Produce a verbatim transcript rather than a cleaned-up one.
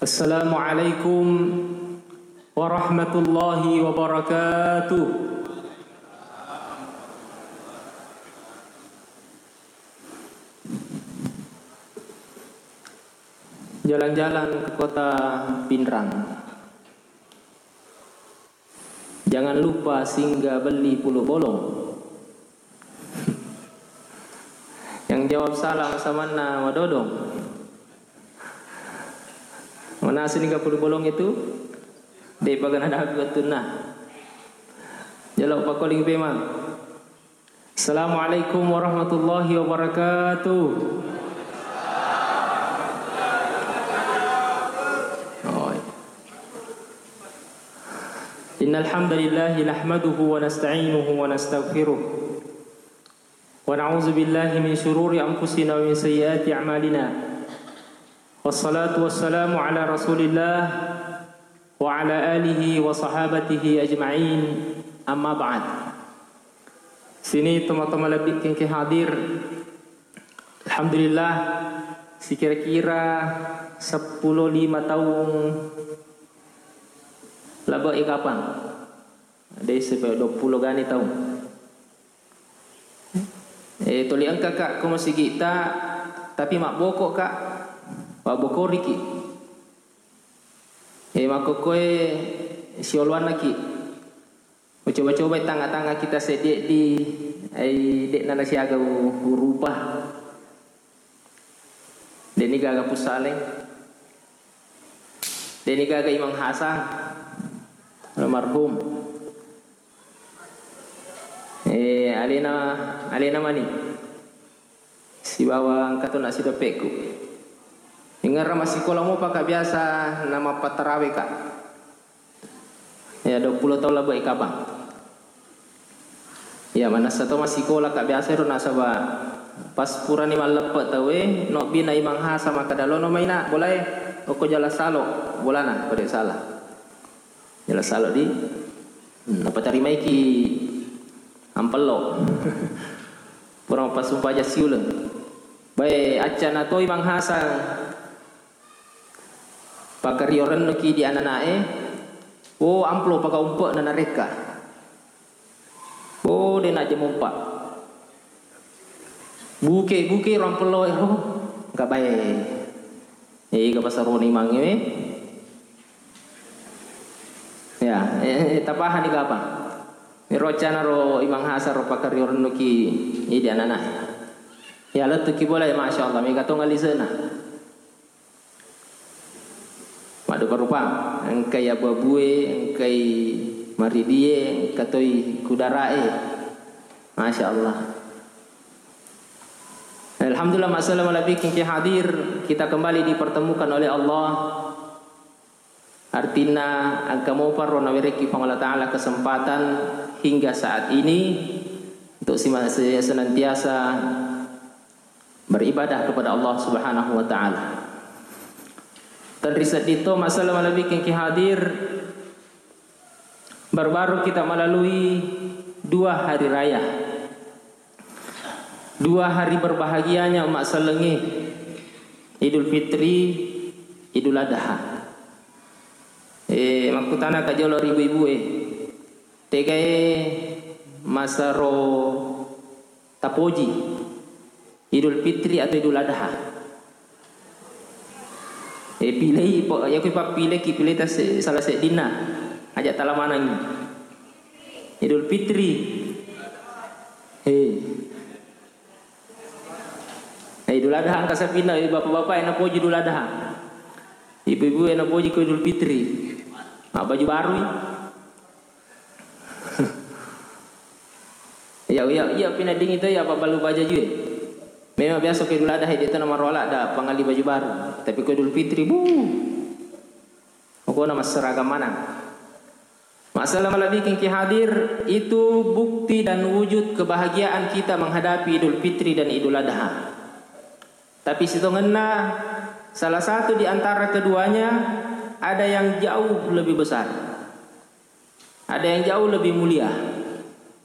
Assalamualaikum warahmatullahi wabarakatuh. Jalan-jalan ke kota Pinrang. Jangan lupa singgah beli pulu bolong. Yang jawab salam samanna madodong. Mana sini pulu bolong itu? Dek bagana dapat betul nah. Jaluk pakoling pemang. Assalamualaikum warahmatullahi wabarakatuh. Oh. إن الحمد لله نحمده ونستعينه ونستغفره ونعوذ بالله من شرور أنفسنا ومن سيئات أعمالنا والصلاة والسلام على رسول الله وعلى آله وصحابته أجمعين أما بعد. Sini teman-teman lebih kengke hadir. Alhamdulillah, sekira-kira seppulo lima taung laba ikapang. Desa dua puluh gani taung. Eh, tuli engka, Kak, ko masigita, tapi mabboko, Kak. Wabbokoriki. Eh, makkokkoe sioloannaki. Ucoba-coba tanga-tanga kita seddi di, ai, de'na nasiaga u-, urupa. De'ni gaga Pussaleng. De'ni gaga Imang Hasan. Almarhum. Eh, alena, alena mani. Sibawa engka to na sidoppekku. Ingerra massikola mopa, Kak, biasa na mappattarawe, Kak. Ya, dua puluh taung laba ikapang. Ya, manessa to massikola, Kak, biasa ero nasaba pas purani malleppe tauwe, nobbi na Imang Hasan makkeda, "Lono mai, Nak, bolae, okko jala salo bolana, ko de salah." Jala salo di, hmm, napatarimaiki ampello. Pura mappasumpaja siuleng. Bae, accana toi Imang Hasan pakkario rennuki di ananae, oh, amplo paka umpe'na narekka. Oh, de najja mompa. Buke-buke ro ampello e, oh, engka bae. Ega pasaroni mangnge we. Ya, eh, eh, tapahani kapang. Ero accana ro Imang Hasan ro pakkario rennuki idi ananae. Ya, lettuki bola, ya, masya Allah, mega tong alisena. Maddupa-rupa, engkai abu-abue, engkai maridie, engka toi kudarae. Masya Allah. Alhamdulillah, masalah malabbiking ki hadir, kita kembali dipertemukan oleh Allah. Artinna, engka mopa ro nawerekki Puang Allah Ta'ala kesempatan hingga saat ini untuk sima-, se-, senantiasa beribadah kepada Allah Subhanahu wa Ta'ala. Tenri sedding to masalah malebbiking ki hadir, baru-baru kita melalui dua hari raya. Dua hari berbahagianya umat sellengnge, Idul Fitri, Idul Adha. Eh, makkutana ka jolo ri ibu-ibu e, tegae masero tapoji, Idul Fitri atau Idul Adha? Eh, pilih, po-, ya kui pappileki, pilih tas-, salah seddinna. Aja tala manangi. Idul Fitri. Eh. Eh, Idul Adha engka sapinna, eh, bapak-bapak e napoji Idul Adha. Ibu-ibu e napoji ko Idul Fitri. Ah, baju baru i. Iya, iya, iya, pina dingin to, iya, apa balu baja jue. Memang biasa ko Idul Adha, dia tu nama rola ada pangali baju baru. Tapi ko Idul Fitri, bu. Pokoknya mas seragam mana. Masalah malebbiking ki hadir, itu bukti dan wujud kebahagiaan kita menghadapi Idul Fitri dan Idul Adha. Tapi sitongenna, salah satu di antara keduanya ada yang jauh lebih besar. Ada yang jauh lebih mulia.